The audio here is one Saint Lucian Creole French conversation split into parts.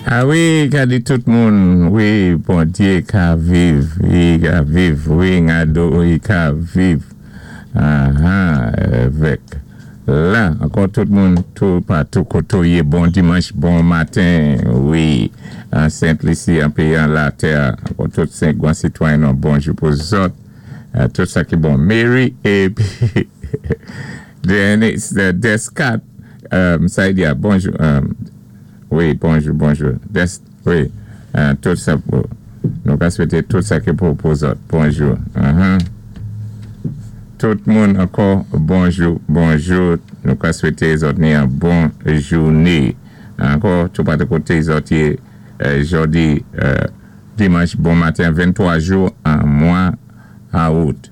A wi, ka di tout moun, wi, Bondyé ka viv, i ka viv, wi, ngado, i ka viv. Aha, évèk la, ankò tout moun, tou patou koto yé, bon dimanch, bon maten, wi, an Sent Lisi, an péyi an latè, ankò tout senk gwan sitwayen nou, bonjou pou zòt, tout sa ki bon. Mary épi Dennis, Descat, Saidia, bonjou, wi, bonjou, bonjou, Des, wi, tout sa pou, nou ka swété tout sa ki pou pou zòt, bonjou, Tout moun ankò, bonjou, bonjou, nou ka swété zòt ni an bon jouné. Ankò, tou patou koté zòt yé jòdi dimanch bon maten 23 jou an mwa awout.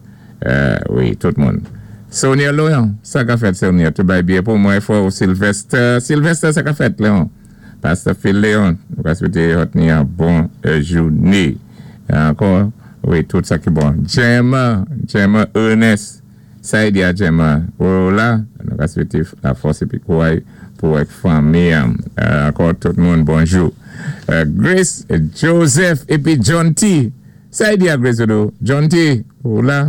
Wi, tout moun. Sonia Léon, sa ka fèt Sonia? Tout bay byen pou mwen frè ou Sylvester. Sylvester, sa ka fèt Léon? Pasteur Phil Léon, nou ka swété zòt ni an bon jouné. Ankò, wi, tout sa ki bon. Gemma, Gemma Ernest, Saidia Gemma, ou la? Nou ka swété la fòs épi kouray pou ak fanmi an. Ankò tout moun bonjou. Grace Joseph épi John T. Saidia Grace Dodo, John T, ou la?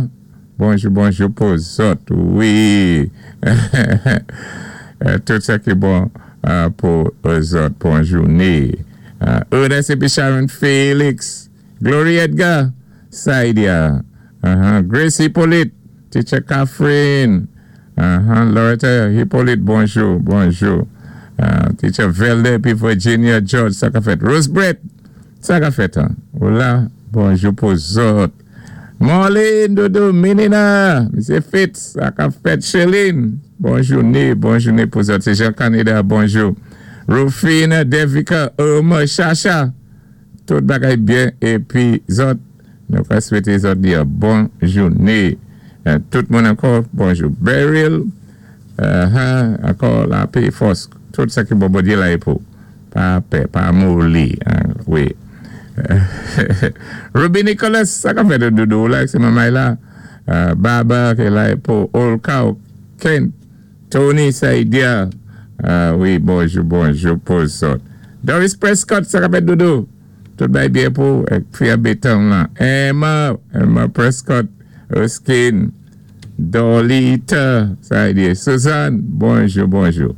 Bonjou, bonjou pou zòt, wi. Tout sa ki bon pou zòt, bon jouné. Ernest épi Sharon Felix, Glory Edgar, Saidia, Grace Hippolyte, Teacher Catherine, Loretta Hippolyte, bonjou, bonjou. Teacher Velde épi Virginia George, sa ka fèt. Rose Brett, sa ka fèt, ou la? Bonjou pou zòt. Marlene Dodo Menina, Misye Fitz, sa ka fèt. Sheline, bon jouné, bon jouné pou zòt. Se Jean Canada, bonjou. Rufine, Devika, Irma, Chacha, tout bagay byen épi zòt, nou ka swété zòt di an bon jouné. Tout moun ankò, bonjou. Beryl, ankò lapé, fòs, tout sa ki bon Bondyé la é pou. Pa pè, pa moli, wi. Ruby Nicholas, sa ka fèt doudou ou la, se manmay la. Baba ki la pou Olka, Kent, Tony Saidia, wi, bonjou, bonjou pou zòt. Doris Prescott, sa ka fèt doudou? Tout bay byen pou fi a beton lan. Emma, Emma Prescott, Erskine, Dolita, Saidia, Suzanne, bonjou, bonjou.